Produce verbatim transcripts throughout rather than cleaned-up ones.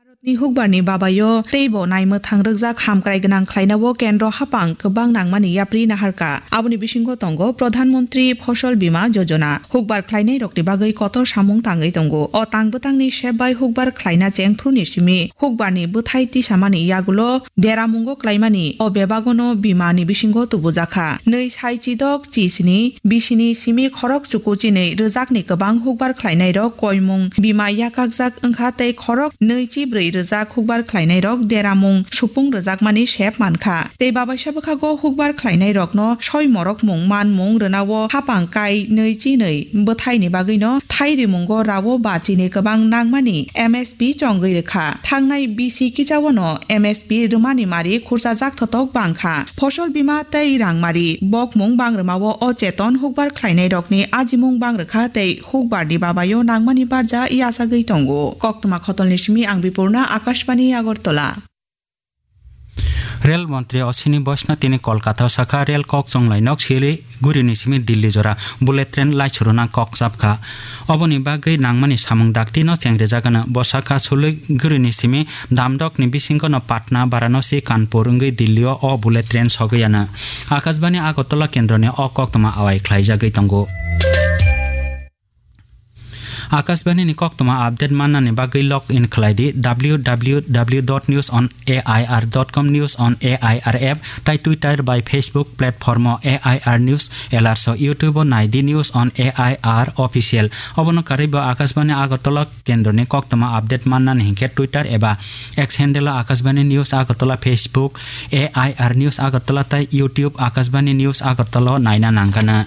Ni hukbar ni babayo teibo naimwthang rwkjak hamkrai gwnang khlainao kendro hapang kwbang nangmani yapri naharkha. Aboni bisingo tongo Pradhan Mantri Phosol Bima Yojana. Hukbar khlainairokni bagwi kotor samung tangwi tongo. O tang bwtangni sep bai hukbar khlaina chengphru ni simi hukbar ni bwthai tisamani yagulo deramungo klaimani o bebagono bima ni bisingo tubujakha. Nwi sai chidok chi sini bisini simi khorok chuku chinwi rwjakni kwbang hukbar khlainairok koimung bima yakakjak wngkha tei khorok nwi chi brwi rwjak hukbar khlainairok deramung supung rwjakmani sep mankha. Tei babaisa bwkhago hukbar khlainairokno soi morokmung manmung rwnao hapang kai nwi chi nwi bwthaini bagwino thai rimungo rao ba chini kwbang nangmani M S P chongwi rwkha. Thangnai bisi kichaono M S P rwmani mari khurchajak thotok bangkha. Phosol bima tei rangmari bokmung bangrwmao o cheton hukbar khlainairokni ajimung bangrwkha tei hukbarni babayo nangmani barja yachagwi tongo. Koktwma khotolni simi ang Bipurna, Akashbani Agartala. Rel montri Ashwini Vaishnaw tini Kolkata o sakha, rel kok chonglai nok Siliguri ni simi Delhi jora bullet train laichuruna kok chapkha. Oboni bagwi nangmani samung dakti no chengrijak ano. Bo sakha, Siliguri ni simi Damdok ni bisingo no Patna, Varanasi, Kanpur wngwi Delhi o o bullet train sogwi ano. Akashbani Agartala kendro ni o koktwma awai khlaijagwi tongo. Akashbani ni koktwma update mannani bagwi log in khlai di W W W dot news on A I R dot com, News on A I R app, tai Twitter bai Facebook platform o A I R News, alerts o YouTube o nai di News on A I R Official. Obono karwi bo Akashbani Agartala kendroni koktwma update mannani hinkhe Twitter eba X handle o Akashbani News Agartala, Facebook A I R News Agartala tai YouTube Akashbani News Agartala o naina nangkana.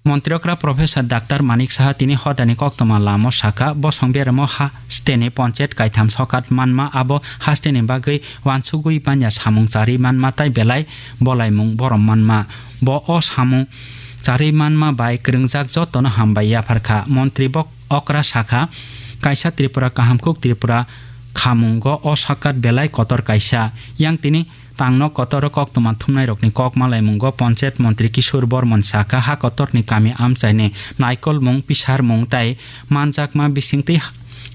Montri okra Professor Doctor Manik Saha tini hodani koktwma lamo sakha, bosong beremo hasteni ponchayat kaitham sokat manma, abo hasteni bagwi wansugwi manya samung charwi manma tai belai bolaimung borom manma. Bo o samung charwi manma bai kwrwngjak jotono hambai yapharkha. Montri bok okra sakha, kaisa Tripura kahamkuk Tripura khamungo o sokat belai kotor kaisa. Yang tini tangno kotor o koktwma thumnairokni kok malaimungo Panchayat Montri Kishore Bormon sakha, ha kotorni kami amchaini naikolmung, pisarmung tai manjakma bisingtwi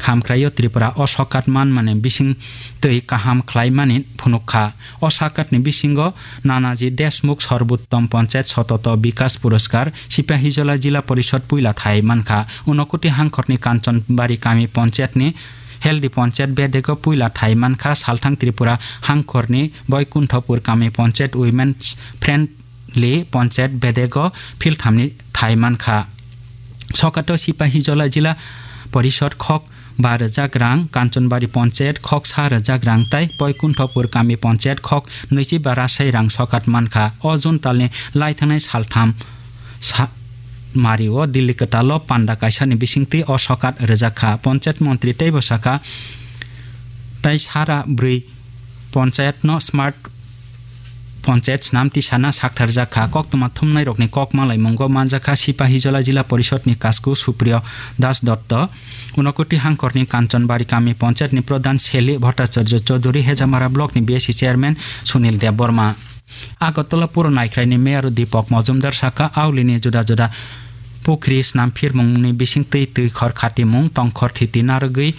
hamkraio Tripura o sokat manmani bisingtwi kaham khlaimani phunukha. O sakatni bisingo Nanaji Deshmukh Sarbottom Panchayat Sototo Bikas Puraskar, Sipahijola Jila Porishod puila thai mankha. Unokoti hangkhorni Kanchanbari kami Panchayatni Healthy Panchayat bedego puila thai mankha, salthang Tripura hangkhorni Boikunthopur kami Panchayat Women's Friendly Panchayat bedego philthamni thai mankha. Sokato Sipahijola Jila Porishod khok ba rwjak rang, Kanchanbari Panchayat khok sa rwjak rang tai Boikunthopur kami Panchayat khok nwichi ba rasai rang sokat mankha. O June talni laithangnai saltham sa-, Mario Delhi kwtalo panda kaisani bisingtwi o sokat rwjak kha. Panchayat montri teibo sakha, tai sara bwrwi panchayatno smart panchayat snam tisana saktharjak kha. Koktwma thumnairokni kok malaimungo manjak kha Sipahijola Jila Porishodni Kasku Supriyo Das Dotto, Unokoti hangkhorni Kanchanbari kami panchayatni pradhan Seli Bhattacharya Chaudhury, Hejamara blockni B S C chairman Sunil Debbarma. Agartala puro naikhraini mayor Deepak Majumdar sakha, aulini juda juda pukhri snamphirmungni bisingtwi twi khor khatimung, tongkhor thiti narwgwi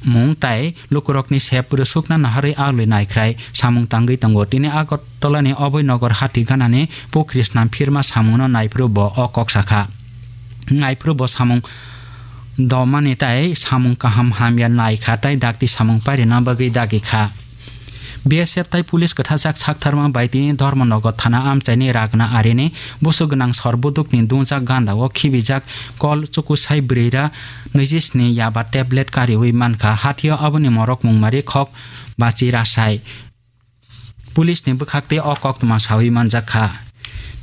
mung tai lukurokni sep rwsukna naharwi auli naikhrai samung tangwi tongo. Tini Agartalani Oboi Nogor hati ganani pukhri snamphirma samungno naiphuru bo o kok sakha. Naiphuru bo samung domani tai samung kaham hamya naikha tai dakti samung pairina bagwi dagi kha. B S F tai police kwthajak saktharma bai tini Dharmanagar thana amchaini Ragna arini busu gwnang sor budukni dungjak ganda o khibijak kol chukusai bwrwira nwijisni yaba tablet kariwi mankha. Hathio aboni morok mungmari khok bachi rasai. Police ni bwkhaktwi o koktwma sawi manjak kha.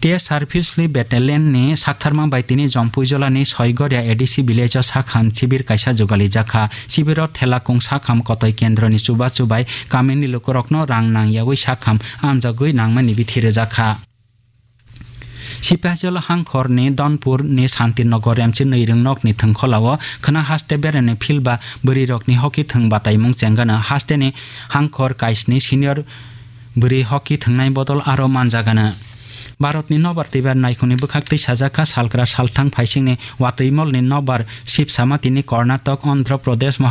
T S R Philsli Battalion ni saktharma bai tini Jompuijolani Soigoria A D C village o sakham sibir kaisa jugalijak kha. Sibiro Thelakung sakham kotoi kendroni chubachu bai kamini lukurokno rang nangyawi sakham amjagwi nangmani bithi rwjak kha. Sipahijola hangkhorni Donpurni Santinagar M C Nwirwng nokni thwngkholao khwna haste berani field ba bwrwirokni hockey thwng bataimung chengano. Hasteni hangkhor kaisni senior bwrwi hockey thwngnai bodol aro manjagano. Bharatni nobar twibar naikhungni bwkhaktwi sajak kha, salkra salthang phaisingni watwimolni nobar sibsama tini Karnataka, Andhra Pradesh,